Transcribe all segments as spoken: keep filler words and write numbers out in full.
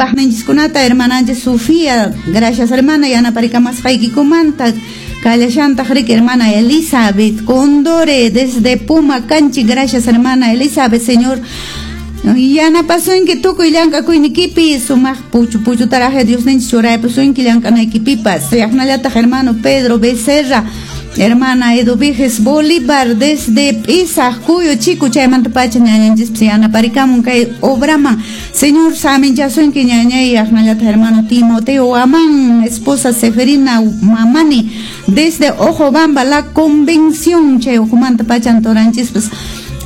Yanapaqninchiskunata hermananchis Sofía, gracias hermana, yanaparicamasqaykikumanta. Kallashantaq riki hermana Elizabeth Condore desde Puma Canchi, gracias hermana Elizabeth, Señor yanapasunki tukuy llank'akuynikipi, sumaq puchu puchutaraje Diosninchis churaypusunki llank'anaykipipas. Yaqnallataq hermano Pedro Becerra, hermana Eduviges Bolívar desde Pisaq Cuyo Chico, chaymanta pacha ñañanchispas yanaparikamun kay obraman. Señor saminchasunki ñañay. Yaqnallataq hermano Timoteo Amán, esposa Seferina Mamani desde Ojobamba, La Convención, chay ujumanta pachan toranchispas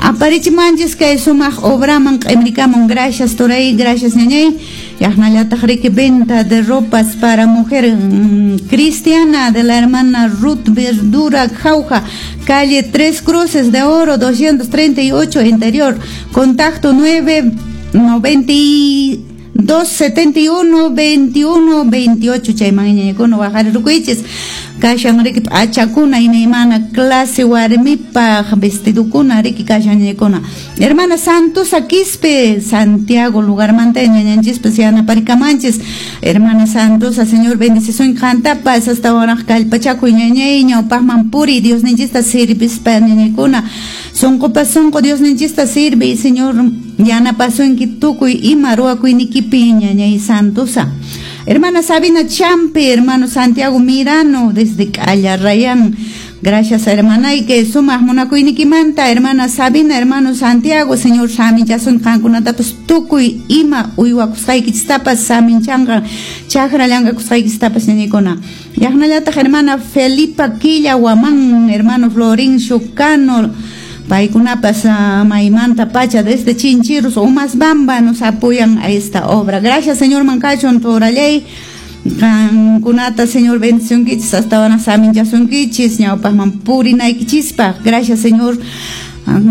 aparichimanchis kay sumaq obraman q'imrikamun. Gracias toray, gracias ñañay. Yaqnallataq riki venta de ropas para mujer mmm, cristiana de la hermana Ruth Verdura Jauja, calle Tres Cruces de Oro doscientos treinta y ocho interior, contacto nueve noventa y dos setenta y uno veintiuno veintiocho. Chayman ñañaykuna waqarirukuychis kashan riki p'achakuna imaymana clase warmipaq vestidukuna riki kashan ñañaykuna. Hermana Santosa Quispe, Santiago lugarmanta ñañanchispas yanaparikamanchis. Hermana Santosa, Señor bendicisun qantapas hasta waraq kallpachakuy ñañay, ñawpaqman puri Diosninchista sirvispa ñañaykuna, sunqupas sunqu Diosninchista sirvi, Señor yanapasunki tukuy ima ruwakuynikipi ñañay Santosa. Hermana Sabina Champe, hermano Santiago Mirano desde Callarrayán, gracias hermana y que sumaq munakuynikimanta. Hermana Sabina, hermano Santiago, Señor saminchasun qankunatapas tukuy ima uywakusqaykichistapas saminchanqa, chakra llank'akusqaykichistapas ñañaykuna. Yaqnallataq hermana Felipa Quilla Guamán, hermano Florín Chucano, paykunapas uh, maymanta pacha desde Chinchirros Umasbamba nos apoyan a esta obra. Gracias Señor mankachun torallay qankunata Señor bendicionkichis hasta wana saminchasunkichis ñawpaqman purinaykichispaq. Gracias Señor.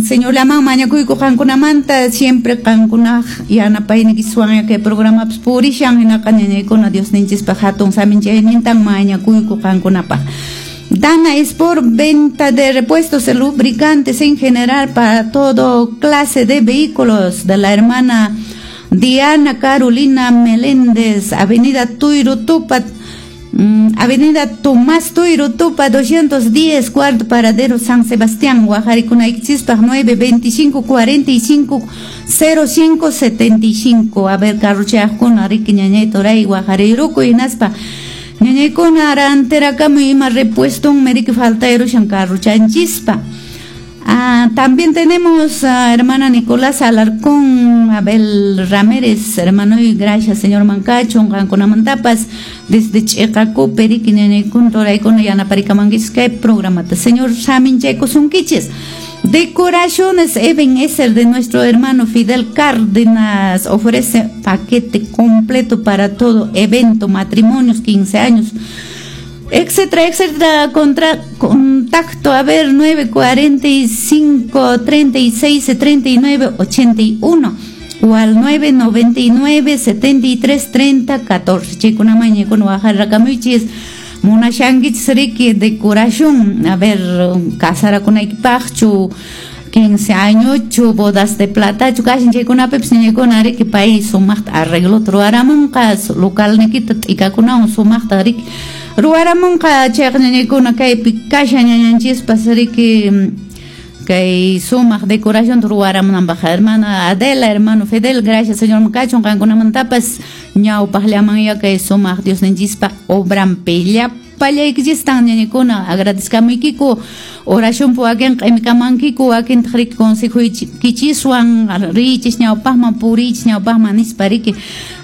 Señor llaman mañakuyku qankunamanta siempre qankunaq yanapaynikiswan kay programapas purishan hinaqa ñañaykuna Diosninchispaq hatun saminchaynintan mañakuyku qankunapaq. Dana es por venta de repuestos y lubricantes en general para todo clase de vehículos de la hermana Diana Carolina Meléndez, Avenida Tuirutupa, mmm, Avenida Tomás Tuirutupa doscientos diez, cuarto paradero San Sebastián, Guajaricunayquichispaq nueve veinticinco cuarenta y cinco cero cinco setenta y cinco. A ver, carruchaqkuna riki ñañay toray Guajariruku hinaspa ñañaykuna rantirakamuy ima repueston meriki faltayrushan carruchanchispa. Ah, también tenemos a hermana Nicolás Alarcón, Abel Ramírez, hermano, y gracias señor Mancacho, qankunamantapas desde Ch'iqakupi riki ñañaykuna toraykuna yanaparikamannkichis kay programata. Señor saminchaykusunkichis. Decoraciones Eben Eser de nuestro hermano Fidel Cárdenas ofrece paquete completo para todo evento, matrimonios, quince años, etcétera, etcétera. Contra, contacto, a ver, nueve cuarenta y cinco treinta y seis treinta y nueve ochenta y uno o al nueve noventa y nueve setenta y tres treinta catorce. Chikunaman ñaykuna waqarakamuchis munashankichis riki decoración, a ver, casarakunaykipaqchu, quince añochu, bodas de platachu, kashan chaykunapipis ñañaykuna riki pay sumaqta arreglota ruwaramunqa, localnikita t'ikakunawan sumaqta riki ruwaramunqa. Chayqa ñañaykuna kaypi kashan ñañanchispas riki kay sumaq decoración ruwaramunanpaq. Hermana Adela, hermano Fidel, gracias señor Mkachun qankunamantapas ñawpaqllaman kay sumaq Diosninchispa obranpi llapallaykichis ñañaykuna agradezkamuykiku oración wakin q'imikamankiku wakintaq riki consejoykichiswan riichis ñawpaqman purichis ñawpaqman nispa riki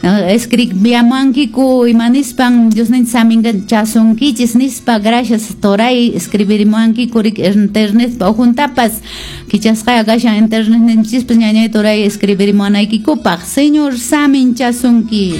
escribiamankiku ima nispan Diosninchis saminchasunkichis nispa. Gracias toray escribirimankiku riki internetpa ujuntapas kichasqaya kashan internetninchispas ñañay toray escribirimuanaykikupaq. Señor saminchasunki.